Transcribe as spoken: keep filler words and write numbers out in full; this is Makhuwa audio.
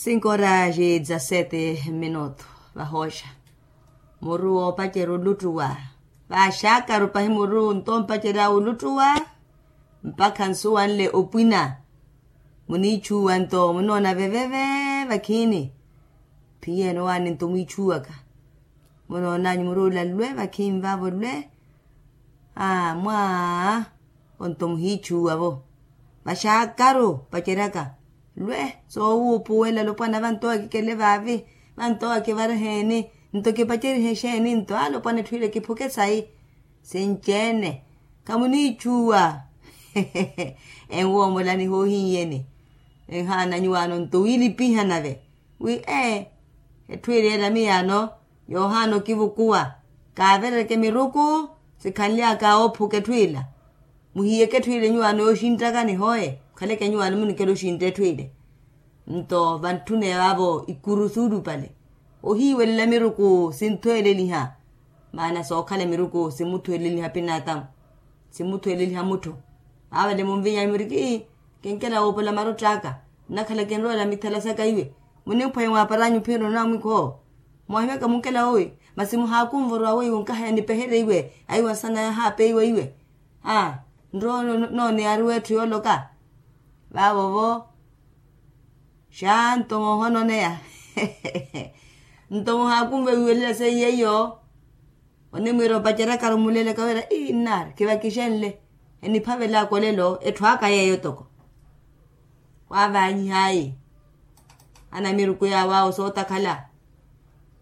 Cinco horas e dezasete minuto. Vahooxa muru woopacerya oluttuwa. Vaxaakaru pahi muru nto ompacerya oluttuwa. Mpakha nsuwanle opwina. Muniichuwa nto munoona veveve. Vakhiini phiyeno waani nto mwiichuwaka. Munoonanyu muru ola lwe vakhiini vavo lwe. Aa mwaa. Onto muhiichuwa vo. Vaxaakaru paceryaka lwe. Soowuupuwela alopwana vanto akikele vaavi. Vanto akivareheeni. Nto kipacerihe exeeni nto alopwana etthu ile kiphuke sayi. Sinci-ene. Khamuniichuwa. Enwoomolani hoohin'yeni. Enhaana nyuwaano nto wiilipiha nave. Wi ee. Etthu ile ela miyaano yoohaana okivukuwa. Kaaverereke miruku. Sikhanly'aka oophuka etthu ila. Muhiyeke etthu ile nyuwaano yooxinttakani hooye. Mukhaleke nyuwaano munikela oxintta etthu ile. Nto vantthune vavo ikuru suulupale. Ohiiwelela miruku sinthweeleliha. Maana sookhala miruku simuthweeleliha pinaatamu. Simuthweeleliha mutthu. Vaavale munvinya muriki. Kinkela woopola marott'aka. Nnakhala kinroela mithala saka iwe. Munimphwanye mwaaparanyu phiro namwikho. Mwahimyaka munkela wowi. Masi muhaakunvoro awoiwo nkahaya nipeherye iwe. Aiwa sana yahaape iwe iwe. Aa. Nrowa noone yariwa etthu yooloka. Vaavo vo. Xanto moohononeya. Nto muhaakunve wiiwelela seiye iyo. Onimwiira opaceryakaru mulelaka wira ii nnaari kivakixenle. Eniphavel'aka olelo etthu aka yeeyo toko. Waavanyihayi. Anamiruku yaawo awo sootakhala.